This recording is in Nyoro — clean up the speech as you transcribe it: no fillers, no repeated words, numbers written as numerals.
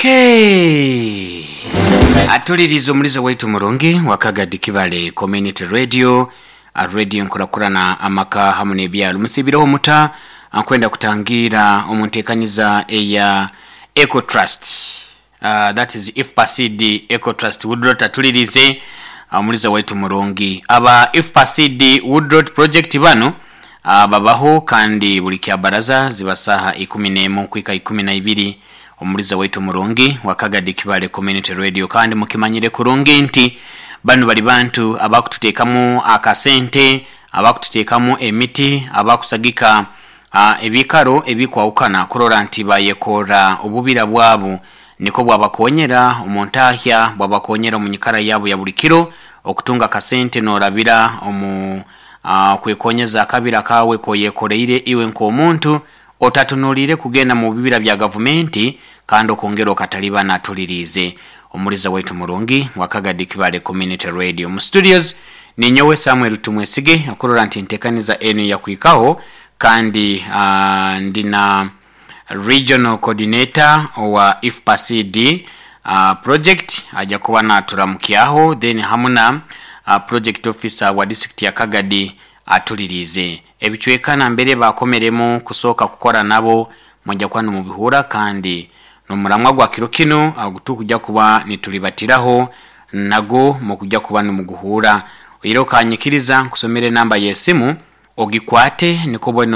Okay, atuliriza omulizo waitu murungi wakagadi Kibale Community Radio, radio nkurakurana amaka hamu n'ebyalo. Musibireho muta? Nkwenda kutangira omu nteekaniza eya Eco Trust, that is IFPACD Eco Trust Woodrot. Atulirize omulizo waitu murungi, aba IFPACD Woodrot Project bano babaho kandi buli kyabaraza ziba saha 11 kwika 12, omuliza waitu murungi wakagadi Kibale Community Radio. Kandi mukimanyire kurungi nti bano bali bantu abakututeekamu akasente, abakututeekamu emiti, abakusagika ebikaro ebikwawukana kurora nti bayekora obubira bwabo, niko bwabakonyera omu ntahya, bwabakonyera omu nyikara yabo ya buli kiro okutunga akasente norabira omu kwekonyeza akabira kawe koyekoreire iwe nk'omuntu otatunuliire kugenda mu bibira bya gavumenti kandi okongera okatalibana. Atuliriize omuliza waitu murungi wakagadi Kibale Community Radio. Mu studios ninyowe Samuel Tumwesige okurora nti ntekaniza enu yakwikaho, kandi ndina regional coordinator owa IFPACD project, ajja kuba naturamukyaho, then hamuna project officer wa district ya Kagadi. Atulirize ebicweka nambere bakomeremu kusooka kukora nabo, mujja kuba nimubihura. Kandi nomuramwa gwa kiro kino tukujja kuba nitulibatiraho nago mukujja kuba nimuguhura. Oire okanyikiriza nkusomere enamba y'esimu ogikwate niko bweno.